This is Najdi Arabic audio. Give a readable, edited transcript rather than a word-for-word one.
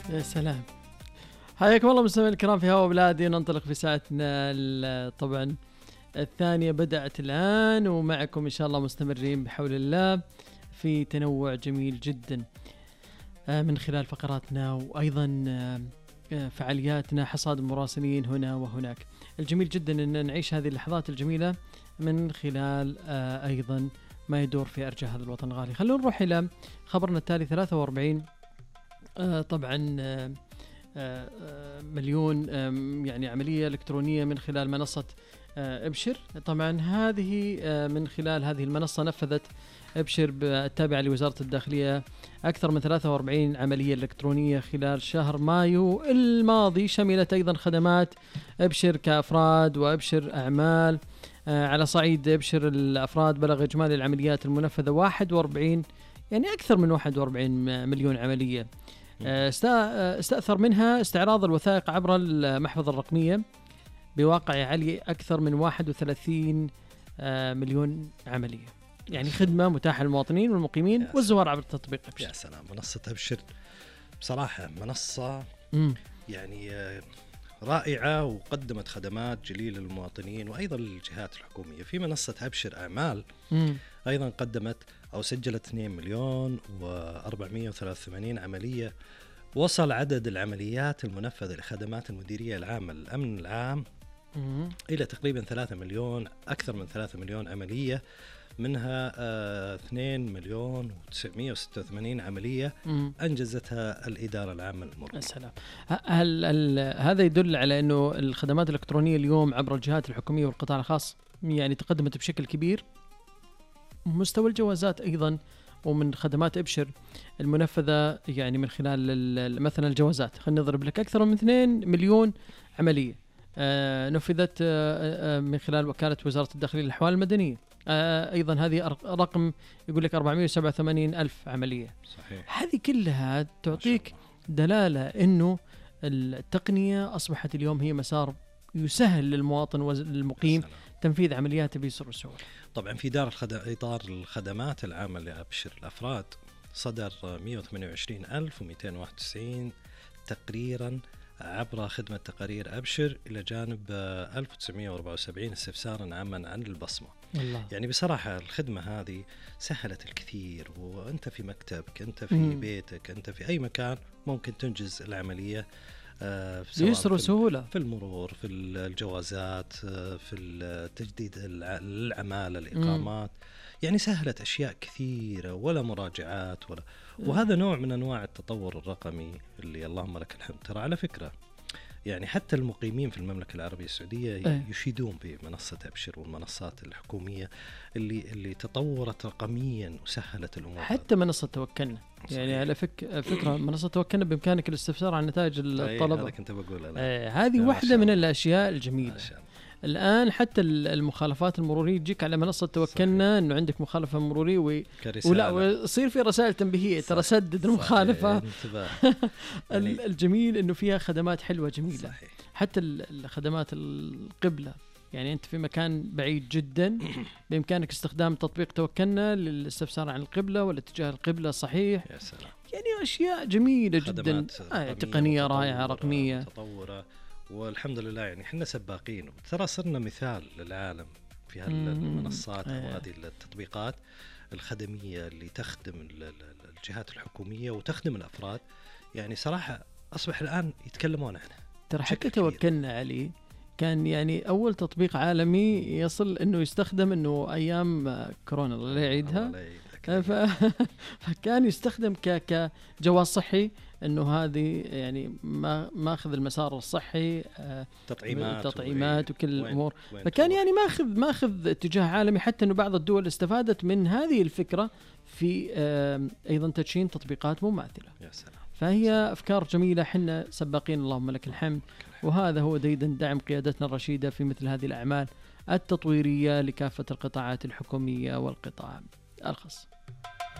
يا سلام. حياكم الله مستمعينا الكرام في هوا بلادي. ننطلق في ساعتنا طبعا الثانية بدأت الآن، ومعكم إن شاء الله مستمرين بحول الله في تنوع جميل جدا من خلال فقراتنا وأيضا فعالياتنا، حصاد المراسلين هنا وهناك. الجميل جدا أن نعيش هذه اللحظات الجميلة من خلال أيضا ما يدور في أرجاء هذا الوطن الغالي. خلونا نروح إلى خبرنا التالي. 43 طبعا مليون يعني عملية إلكترونية من خلال منصة ابشر. طبعا هذه من خلال هذه المنصة نفذت ابشر التابعة لوزارة الداخلية أكثر من 43 عملية إلكترونية خلال شهر مايو الماضي. شملت أيضا خدمات ابشر كأفراد وابشر أعمال. على صعيد ابشر الأفراد بلغ إجمالي العمليات المنفذة 41 يعني أكثر من 41 مليون عملية. استأثر منها استعراض الوثائق عبر المحفظة الرقمية بواقع عالي أكثر من 31 مليون عملية. يعني خدمة متاحة للمواطنين والمقيمين والزوار عبر التطبيق أبشر. يا سلام. منصة أبشر بصراحة منصة يعني رائعة، وقدمت خدمات جليلة للمواطنين وأيضا للجهات الحكومية. في منصة أبشر أعمال أيضا قدمت أو سجلت 2 مليون و483 عملية. وصل عدد العمليات المنفذة لخدمات المديرية العامة للأمن العام إلى تقريبا 3 مليون، أكثر من 3 مليون عملية، منها 2 مليون و986 عملية أنجزتها الإدارة العامة للمرور. السلام. هل هذا يدل على أنه الخدمات الإلكترونية اليوم عبر الجهات الحكومية والقطاع الخاص يعني تقدمت بشكل كبير؟ مستوى الجوازات أيضا ومن خدمات ابشر المنفذة يعني من خلال مثلا الجوازات، خلينا نضرب لك أكثر من 2 مليون عملية نفذت من خلال وكالة وزارة الداخلية للأحوال المدنية. أيضا هذه رقم يقول لك 487 ألف عملية. صحيح. هذه كلها تعطيك دلالة أنه التقنية أصبحت اليوم هي مسار يسهل للمواطن والمقيم تنفيذ عملياته بيسر وسهولة. طبعا في إطار الخدمات العامة لأبشر الأفراد صدر 128,291 تقريرا عبر خدمة تقارير أبشر، إلى جانب 1974 استفسارا عاما عن البصمة. الله. يعني بصراحة الخدمة هذه سهلت الكثير، وأنت في مكتبك، أنت في بيتك، أنت في أي مكان ممكن تنجز العملية بيسر وسهولة في المرور، في الجوازات، في تجديد العمالة، الإقامات. يعني سهلت أشياء كثيرة ولا مراجعات ولا. وهذا نوع من أنواع التطور الرقمي اللي اللهم لك الحمد. ترى على فكرة يعني حتى المقيمين في المملكة العربية السعودية يشيدون بمنصة أبشر والمنصات الحكومية اللي تطورت رقميا وسهلت الأمور. حتى منصة توكلنا يعني على فكرة منصة توكلنا بإمكانك الاستفسار عن نتائج الطلبة. هذا كنت بقول هذه واحدة من الأشياء الجميلة. الآن حتى المخالفات المرورية تجيك على منصة توكلنا إنه عندك مخالفة مرورية ولا ويصير في رسائل تنبيهية ترى سدد المخالفة. الجميل إنه فيها خدمات حلوة جميلة. صحيح. حتى الخدمات القبلة، يعني أنت في مكان بعيد جدا بإمكانك استخدام تطبيق توكلنا للاستفسار عن القبلة والاتجاه القبلة صحيح. يا سلام. يعني أشياء جميلة جدا، تقنية رائعة رقمية متطورة، والحمد لله. يعني احنا سباقين، ترى صرنا مثال للعالم في هالمنصات وهذه التطبيقات الخدمية اللي تخدم الجهات الحكومية وتخدم الأفراد. يعني صراحة أصبح الآن يتكلمون عنها. ترى حتى توكلنا عليه كان يعني أول تطبيق عالمي يصل إنه يستخدم إنه أيام كورونا الله يعيدها، فكان يستخدم كجواز صحي، إنه هذه يعني ما أخذ المسار الصحي، تطعيمات وكل الأمور. فكان يعني ما أخذ اتجاه عالمي، حتى إنه بعض الدول استفادت من هذه الفكرة في أيضا تدشين تطبيقات مماثلة. يا سلام. فهي أفكار جميلة، حنا سباقين اللهم لك الحمد. وهذا هو ديدا دعم قيادتنا الرشيدة في مثل هذه الأعمال التطويرية لكافة القطاعات الحكومية والقطاع الخاص.